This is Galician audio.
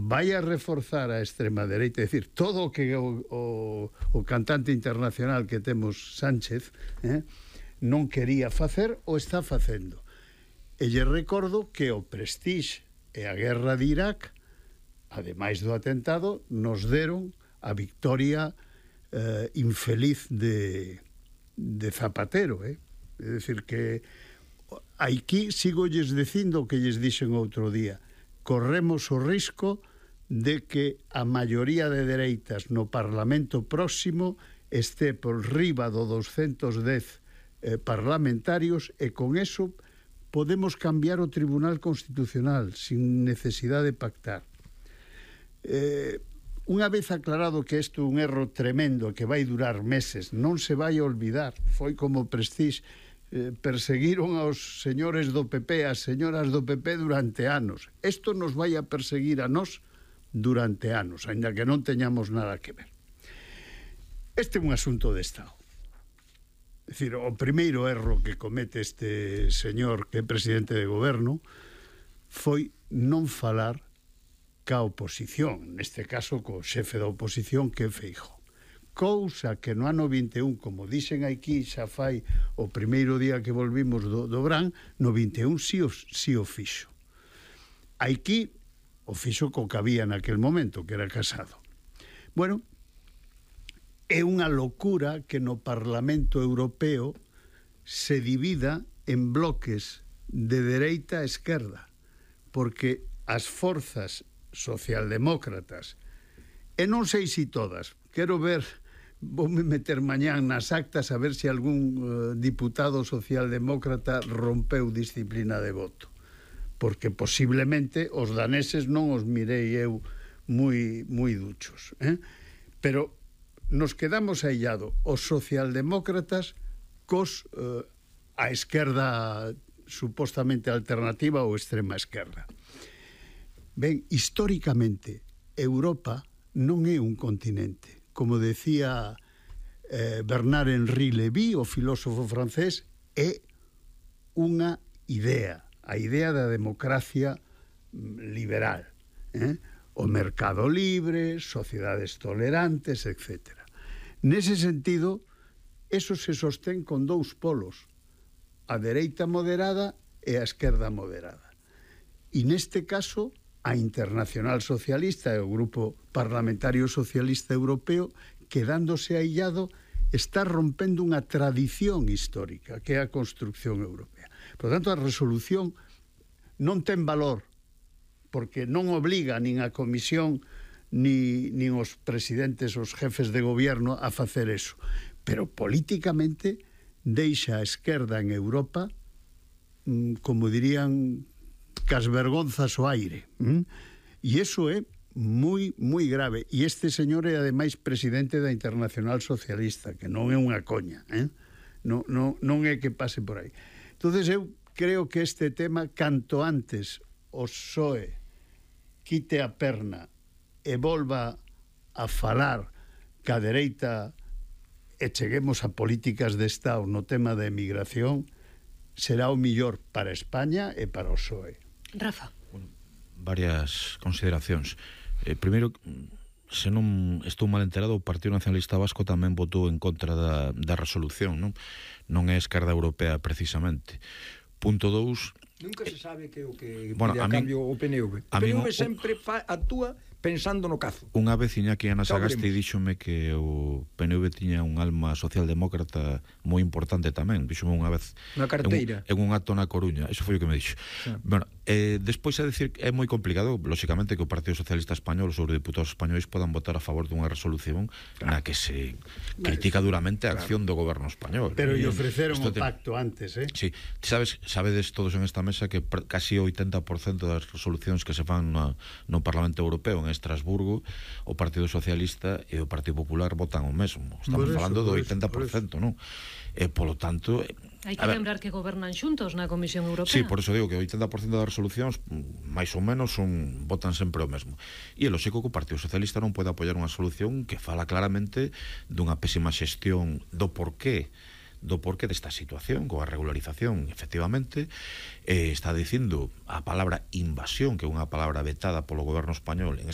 vai a reforzar a extrema dereita, é dicir, todo o que o cantante internacional que temos Sánchez non quería facer o está facendo. E lle recordo que o Prestige e a guerra de Irak, ademais do atentado, nos deron a victoria infeliz de Zapatero, É dicir que aquí sigo lles dicindo o que lles dixen outro día. Corremos o risco de que a maioría de dereitas no Parlamento próximo este por riba do 210 parlamentarios e con eso podemos cambiar o Tribunal Constitucional sin necesidade de pactar. Unha vez aclarado que isto é un erro tremendo que vai durar meses, non se vai olvidar, foi como Prestige, perseguiron aos señores do PP, as señoras do PP durante anos. Isto nos vai a perseguir a nós durante anos, aínda que non teñamos nada que ver. Este é un asunto de Estado. É dicir, o primeiro erro que comete este señor que é presidente de goberno foi non falar ca oposición, neste caso co xefe da oposición que é Feijóo. Cousa que no ano 21, como dixen aquí xa fai o primeiro día que volvimos do Brán, no 21 si o fixo. Aquí o fixo co que había naquel momento, que era Casado. Bueno, é unha locura que no Parlamento Europeo se divida en bloques de dereita a esquerda, porque as forzas socialdemócratas, e non sei se todas, quero ver, voume meter mañán nas actas a ver se algún diputado socialdemócrata rompeu disciplina de voto, porque posiblemente os daneses non os mirei eu moi duchos, pero nos quedamos aillado os socialdemócratas cos a esquerda supostamente alternativa ou extrema esquerda. Ben, históricamente Europa non é un continente, como decía Bernard-Henri Lévy, o filósofo francés, é unha idea, a idea da democracia liberal, o mercado libre, sociedades tolerantes, etc. Nese sentido, eso se sostén con dous polos, a dereita moderada e a esquerda moderada. E neste caso, a Internacional Socialista e o Grupo Parlamentario Socialista Europeo, quedándose aillado, está rompendo unha tradición histórica, que é a construcción europea. Por tanto, a resolución non ten valor, porque non obliga nin a Comisión nin os presidentes, os jefes de gobierno a facer eso, pero políticamente deixa a esquerda en Europa, como dirían, cas vergonzas ao aire, e iso é moi grave, e este señor é ademais presidente da Internacional Socialista, que non é unha coña, non é que pase por aí. Entonces eu creo que este tema, canto antes o PSOE quite a perna e volva a falar ca dereita e cheguemos a políticas de Estado no tema da emigración, será o millor para España e para o PSOE. Rafa. Bueno, varias consideracións. Primeiro, se non estou mal enterado, o Partido Nacionalista Vasco tamén votou en contra da resolución, non é esquerda europea precisamente. Punto 2, nunca se sabe que o que bueno, pide a cambio o PNV. O PNV sempre actúa pensando no cazo. Unha vez iña que Ana Sagasti díxome que o PNV tiña un alma socialdemócrata moi importante tamén. Díxome unha vez na carteira en un acto na Coruña. Eso foi o que me dixo. Sí. Bueno, despois a decir que é moi complicado, lóxicamente, que o Partido Socialista Español, os eurodiputados españois podan votar a favor dunha resolución na que se critica duramente a acción do goberno español. Pero lle ofreceron o pacto antes, Sí, sabedes todos en esta mesa que casi o 80% das resolucións que se fan no Parlamento Europeo en Estrasburgo, o Partido Socialista e o Partido Popular votan o mesmo. Estamos falando do 80%, non? Polo tanto, hai que lembrar que gobernan xuntos na Comisión Europea. Sí, por eso digo que o 80% das resolucións máis ou menos votan sempre o mesmo. E é lógico que o Partido Socialista non pode apoiar unha solución que fala claramente dunha pésima xestión do porqué desta situación, coa regularización, efectivamente, está dicindo a palabra invasión, que é unha palabra vetada polo goberno español en